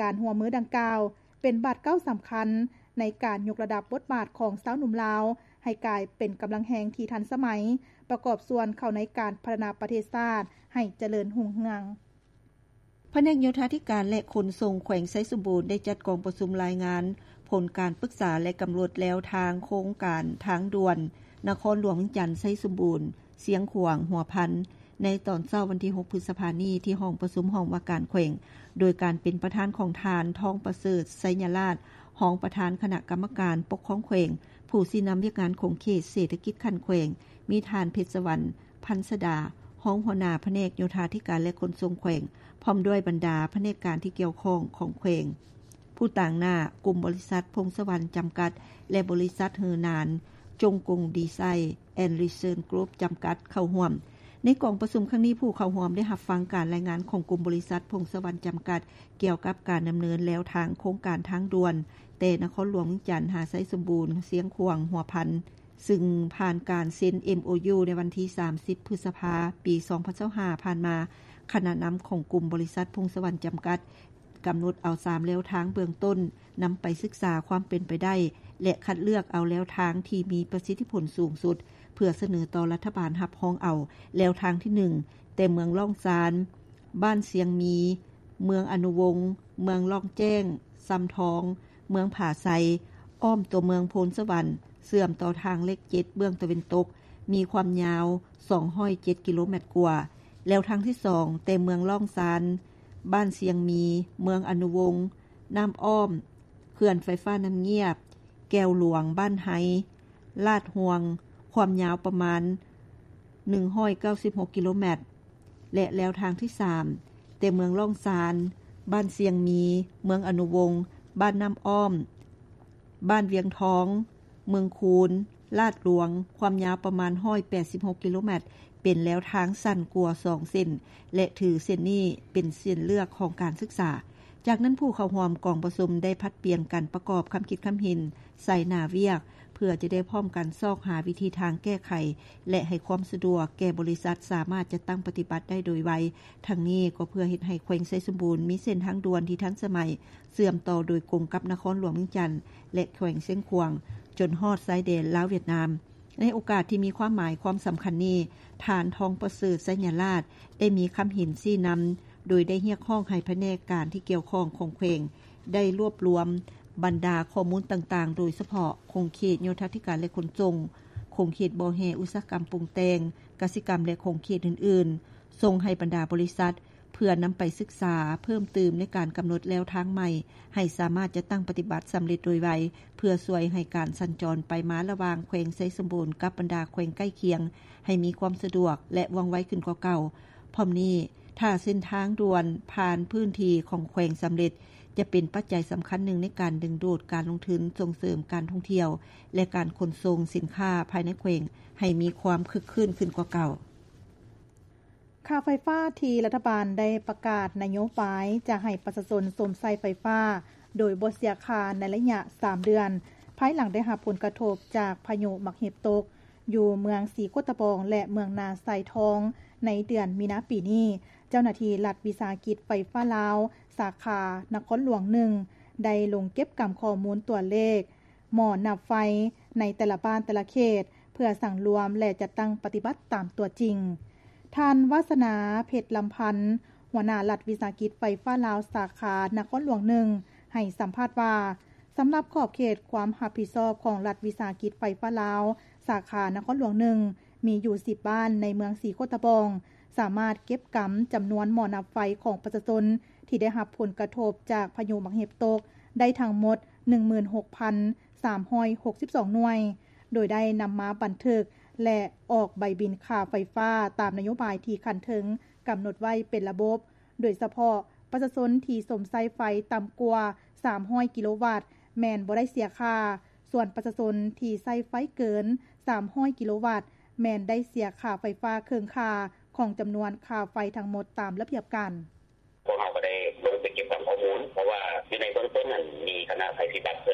ການຮ່ວມມືດັ່ງກ່າວ ເປັນບາດກ້າວສຳຄັນ ໃນການຍົກລະດັບບົດບາດຂອງຊາວໜຸ່ມລາວ ໃຫ້ກາຍເປັນກຳລັງແຮງທີ່ທັນສະໄໝ, ປະກອບສ່ວນເຂົ້າໃນການພັດທະນາປະເທດຊາດ ໃຫ້ຈະເລີນຮຸ່ງເຮືອງ. ພະແນກໂຍທາທິການ ແລະ ຂົນສົ່ງແຂວງໄຊສົມບູນ ໄດ້ຈັດກອງປະຊຸມລາຍງານຜົນການປຶກສາ ແລະ ກຳນົດແນວທາງໂຄງການທາງດ່ວນ ນະຄອນຫຼວງວຽງຈັນ ໄຊສົມບູນ ຊຽງຂວາງ ຫົວພັນ ໃນຕອນເຊົ້າວັນທີຫົກ ພຶດສະພານີ້ ທີ່ຫ້ອງປະຊຸມຫ້ອງວ່າການແຂວງ ໂດຍການເປັນປະທານຂອງທ່ານ ທອງປະເສີດ ໄຊຍະລາດ ຮອງປະທານຄະນະກຳມະການປົກຄອງແຂວງ, ຜູ້ຊີ້ນຳວຽກງານຂົງເຂດເສດຖະກິດຂັ້ນແຂວງ, ມີທ່ານ ເພັດສະຫວັນ ພັນສະດາ ຮອງຫົວໜ້າພະແນກໂຍທາທິການ ແລະ ຂົນສົ່ງແຂວງ ພ້ອມດ້ວຍບັນດາພະແນກການທີ່ກ່ຽວຂ້ອງຂອງແຂວງ, ຜູ້ຕາງໜ້າກຸ່ມບໍລິສັດ ພົງສະຫວັນ ຈຳກັດ ແລະ ບໍລິສັດ ເຮີນານ ຈົງກົງ ດີໄຊ ແອນ ຣີເຊີນ ກຣຸບ ຈຳກັດ ເຂົ້າຮ່ວມ. ໃນກອງປະຊຸມຄັ້ງນີ້ ຜູ້ເຂົ້າຮ່ວມໄດ້ຮັບຟັງການລາຍງານຂອງກຸ່ມບໍລິສັດ ພົງສະຫວັນ ຈຳກັດ ກ່ຽວກັບການດຳເນີນແນວທາງໂຄງການທາງດ່ວນ ແຕ່ນະຄອນຫຼວງວຽງຈັນ ຫາໄຊສົມບູນ ຊຽງຂວາງ ຫົວພັນ ຊຶ່ງຜ່ານການເຊັນ ເອັມໂອຢູ ໃນວັນທີສາມສິບ ພຶດສະພາ ປີສອງພັນຊາວຫ້າ ຜ່ານມາ. ຄະນະນຳຂອງກຸ່ມບໍລິສັດ ພົງສະຫວັນ ຈຳກັດ ກຳນົດເອົາສາມແນວທາງເບື້ອງຕົ້ນ ນຳໄປສຶກສາຄວາມເປັນໄປໄດ້ ແລະ ຄັດເລືອກເອົາແນວທາງທີ່ມີປະສິດທິຜົນສູງສຸດ ເພື່ອສະເໜີຕໍ່ລັດຖະບານຮັບຮອງເອົາ. ແນວທາງທີໜຶ່ງ ແຕ່ເມືອງລ້ອງຊານ, ບ້ານຊຽງມີ, ເມືອງອະນຸວົງ, ເມືອງລ້ອງແຈ້ງ, ຊຳທອງ, ເມືອງຜາໄຊ, ອ້ອມຕົວເມືອງໂພນສະຫວັນ, ເຊື່ອມຕໍ່ທາງເລກເຈັດເບື້ອງຕາເວັນຕົກ, ມີຄວາມຍາວສອງຮ້ອຍເຈັດກິໂລແມັດກວ່າ. ແນວທາງທີສອງ ແຕ່ເມືອງລ້ອງຊານ, ບ້ານຊຽງມີ, ເມືອງອະນຸວົງ, ນ້ຳອ້ອມ, ເຂື່ອນໄຟຟ້ານ້ຳງຽບ, ແກ້ວຫຼວງ, ບ້ານໄຮ, ລາດຮ່ວງ, ຄວາມຍາວປະມານໜຶ່ງຮ້ອຍເກົ້າສິບຫົກກິໂລແມັດ ແລະ ແນວທາງທີສາມ ແຕ່ເມືອງລ້ອງຊານ, ບ້ານຊຽງມີ, ເມືອງອະນຸວົງ, ບ້ານນ້ຳອ້ອມ, ບ້ານວຽງທອງ, ເມືອງຄູນ, ລາດຫຼວງ, ຄວາມຍາວປະມານຮ້ອຍແປດສິບຫົກກິໂລແມັດ ເປັນແນວທາງສັ້ນກວ່າສອງເສັ້ນ ແລະ ຖືເສັ້ນນີ້ເປັນເສັ້ນເລືອກຂອງການສຶກສາ. ຈາກນັ້ນ ຜູ້ເຂົ້າຮ່ວມກອງປະຊຸມໄດ້ຜັດປ່ຽນກັນປະກອບຄຳຄິດຄຳເຫັນໃສ່ໜ້າວຽກ ເພື່ອຈະໄດ້ພ້ອມກັນຊອກຫາວິທີທາງແກ້ໄຂ ແລະ ໃຫ້ຄວາມສະດວກແກ່ບໍລິສັດສາມາດຈັດຕັ້ງປະຕິບັດໄດ້ໂດຍໄວ. ທັງນີ້ກໍເພື່ອເຮັດໃຫ້ແຂວງໄຊສົມບູນມີເສັ້ນທາງດ່ວນທີ່ທັນສະໄໝ ເຊື່ອມຕໍ່ໂດຍກົງກັບນະຄອນຫຼວງວຽງຈັນ ແລະ ແຂວງຊຽງຂວາງ ຈົນຮອດຊາຍແດນລາວຫວຽດນາມ. ໃນໂອກາດທີ່ມີຄວາມໝາຍຄວາມສຳຄັນນີ້, ທ່ານ ທອງປະເສີດ ໄຊຍະລາດ ໄດ້ມີຄຳເຫັນຊີ້ນຳ ໂດຍໄດ້ຮຽກຮ້ອງໃຫ້ພະແນກການທີ່ກ່ຽວຂ້ອງຂອງແຂວງ ໄດ້ລວບລວມບັນດາຂໍ້ມູນຕ່າງໆ ໂດຍສະເພາະຂົງເຂດໂຍທາທິການ ແລະ ຂົນສົ່ງ, ຂົງເຂດບໍ່ແຮ່ອຸດສາຫະກຳປຸງແຕ່ງ, ກະສິກຳ ແລະ ຂົງເຂດອື່ນໆ ສົ່ງໃຫ້ບັນດາບໍລິສັດ ເພື່ອນຳໄປສຶກສາເພີ່ມຕື່ມໃນການກຳນົດແນວທາງໃໝ່ ໃຫ້ສາມາດຈັດຕັ້ງປະຕິບັດສຳເລັດໂດຍໄວ ເພື່ອຊ່ວຍໃຫ້ການສັນຈອນໄປມາລະຫວ່າງແຂວງໄຊສົມບູນກັບບັນດາແຂວງໃກ້ຄຽງ ໃຫ້ມີຄວາມສະດວກ ແລະ ວ່ອງໄວຂຶ້ນກວ່າເກົ່າ. ພ້ອມນີ້, ຖ້າເສັ້ນທາງດ່ວນຜ່ານພື້ນທີ່ຂອງແຂວງສຳເລັດ, ຈະເປັນປັດໄຈສຳຄັນໜຶ່ງໃນການດຶງດູດການລົງທຶນ, ສົ່ງເສີມການທ່ອງທ່ຽວ ແລະ ການຂົນສົ່ງສິນຄ້າພາຍໃນແຂວງ ໃຫ້ມີຄວາມຄຶກຄື້ນຂຶ້ນກວ່າເກົ່າ. ຄ່າໄຟຟ້າທີ່ລັດຖະບານໄດ້ປະກາດນະໂຍບາຍຈະໃຫ້ປະຊາຊົນຊົມໃຊ້ໄຟຟ້າໂດຍບໍ່ເສຍຄ່າໃນໄລຍະສາມເດືອນ, ພາຍຫຼັງໄດ້ຮັບຜົນກະທົບຈາກພາຍຸໝາກເຫັບຕົກຢູ່ເມືອງສີໂຄດຕະບອງ ແລະ ເມືອງນາຊາຍທອງໃນເດືອນມີນາປີນີ້, ເຈົ້າໜ້າທີ່ລັດວິສາຫະກິດໄຟຟ້າລາວ ສາຂານະຄອນຫຼວງໜຶ່ງ ໄດ້ລົງເກັບກຳຂໍ້ມູນຕົວເລກ ໝໍ້ນັບໄຟໃນແຕ່ລະບ້ານແຕ່ລະເຂດ ເພື່ອສັງລວມ ແລະ ຈັດຕັ້ງປະຕິບັດຕາມຕົວຈິງ. ທ່ານ ວາສະໜາ ເພັດລຳພັນ ຫົວໜ້າລັດວິສາຫະກິດໄຟຟ້າລາວ ສາຂານະຄອນຫຼວງໜຶ່ງ ໃຫ້ສຳພາດວ່າ, ສຳລັບຂອບເຂດຄວາມຮັບຜິດຊອບຂອງລັດວິສາຫະກິດໄຟຟ້າລາວ ສາຂານະຄອນຫຼວງໜຶ່ງ ມີຢູ່ສິບບ້ານໃນເມືອງສີໂຄດຕະບອງ ສາມາດເກັບກຳຈຳນວນໝໍ້ນັບໄຟຂອງປະຊາຊົນ ທີ່ໄດ້ຮັບຜົນກະທົບຈາກພາຍຸໝາກເຫັບຕົກ ໄດ້ທັງໝົດ ໜຶ່ງໝື່ນຫົກພັນສາມຮ້ອຍຫົກສິບສອງໜ່ວຍ, ໂດຍໄດ້ນຳມາບັນທຶກ ແລະ ອອກໃບບິນຄ່າໄຟຟ້າຕາມນະໂຍບາຍທີ່ຂັ້ນເທິງກຳນົດໄວ້ເປັນລະບົບ, ໂດຍສະເພາະປະຊາຊົນທີ່ຊົມໃຊ້ໄຟຕ່ຳກວ່າສາມຮ້ອຍກິໂລວັດ ແມ່ນບໍ່ໄດ້ເສຍຄ່າ, ສ່ວນປະຊາຊົນທີ່ໃຊ້ໄຟເກີນສາມຮ້ອຍກິໂລວັດ ແມ່ນໄດ້ເສຍຄ່າໄຟຟ້າເຄິ່ງຄ່າຂອງຈຳນວນຄ່າໄຟທັງໝົດຕາມລະບຽບການ. ພວກເຮົາກໍໄດ້ລົງໄປເກັບກຳຂໍ້ມູນ ເພາະວ່າຢູ່ໃນເບື້ອງຕົ້ນນັ້ນ ມີຄະນະໄພພິບັດເພິ່